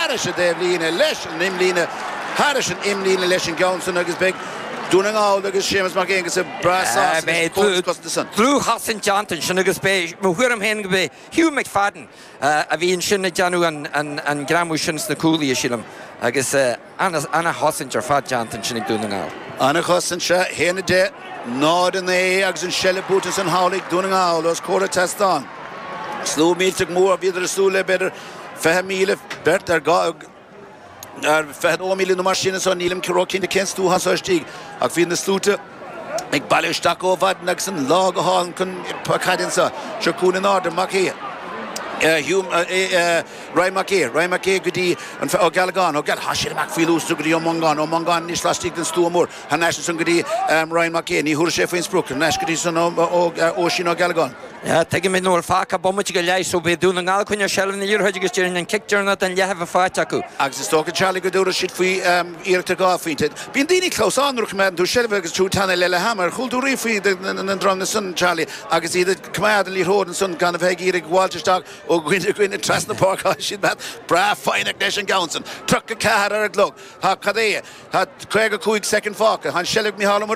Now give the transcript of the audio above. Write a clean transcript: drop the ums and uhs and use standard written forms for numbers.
Thairis an dtaobhlíne leis an imlíne, thairis an imlíne leis an gceann san agus beidh Dún na nGall agus Séamus Mac Aonghusa breá sásta leis an gcóras cosanta san. Dlúthchosaint déanta ansin agus b'é mo thuairim féin go b'é Hugh McFadden a bhí ansin ag déanamh an greamú sin sna cúlaithe, sílim, agus ana-chosaint ar fad déanta ansin ag Dún na nGall. Ana-chosaint, sea. 1, 10, 0, 9 agus an seilbh buaite ansan thall ag Dún na nGall os comhair an tseastáin. Slua millteach mór, bhíodar ag súil le b'fhéidir 20,000, beirt ar 22,000 nó mar sin anso, nílim ró-chinnte cén slua atá anso istigh ach bhí na sluaite ag bailiú isteach ó mhaidin agus an lá go hálainn chun caide anso. Seo chugainn in airde, Mac Aodha, Hugh, Ryan Mac Aodha, Ryan Mac Aodha go dtí an Ó Gealgáin, Ó Geal, tá siad amach faoi luas go dtí Ó Mongáin, Ó Mongáin anois laistigh den stua mór, thar n-ais ansan go dtí Ryan Mac Aodha, ní thabharfaidh sé faoin sprioc, thar n-ais go dtí san Oisín Ó Gealgáin. Tuigimid nach bhfuil fágtha ach bomaite go leith so beidh Dún na nGall ag coinneáil seilbh na liathróide agus déarfainn an cic deireanach den leath a bheith faighte acu. Agus is dócha, Charlie, go dtabharfaidh siad faoi iarracht ar dhá phointe. Bíonn daoine ag clamhsán nuair a choimeádann tú seilbh agus tú ag teannadh le leath ama. Ar chuala tú riamh faoi na dreamanna san, Charlie, agus iad ag coimeád an liathróid ansan gan a bheith ag iarraidh gabháilt isteach ó dhuine go dhuine trasna páirce. Tá siad breá foighneach leis an gceann san. 34 ar an gclog. Tá, cad é, tá 55 soicind fágtha. Tá an seilbh ag Mícheál Ó Muireadhaigh.